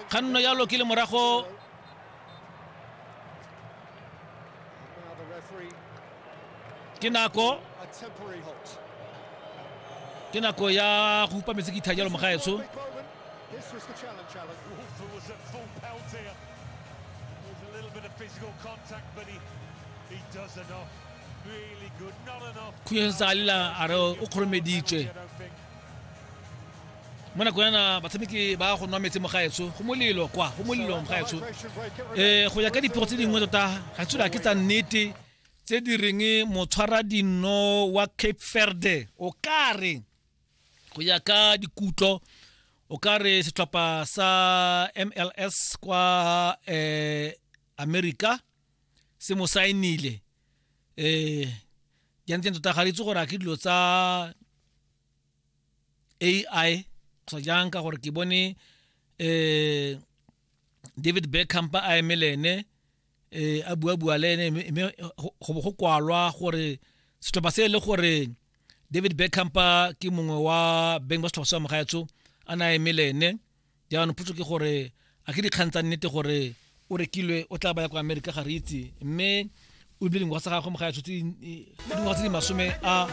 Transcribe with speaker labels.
Speaker 1: Kganno jalo ke le morago ke nako ke nako ya go upa metsi ke itha jalo mogaetsho. Khunyo sentse a lela a re o kgoromeditswe. Mo nako yana batshameki ba go nwa metsi mo gaetsho, go molelo kwa, go molelo mo gaetsho. Go ya ka dipego tse dingwe tota ga tsula ke tsa nnete tse di reng motshwara dino wa Cape Verde o kare go ya ka dikutlo o ka re setlhopha sa MLS kwa America se mo saenile. Jaanong tota ga re itse gore a ke dilo tsa AI kgotsa jang, ka gore ke bone David Beckham a eme le ene, a bua bua le ene, mme go bo go kwalwa gore setlhopha se e le gore David Beckham ke mongwe wa beng ba setlhopha sa mogaetsho a ne a eme le ene. Jaanong potso ke gore a ke dikgang tsa nnete gore o rekilwe o tla baya kwa Amerika, ga re itse, mme o bile dingwaga tsa gagwe mogaetsho tse dingwaga tse di masome a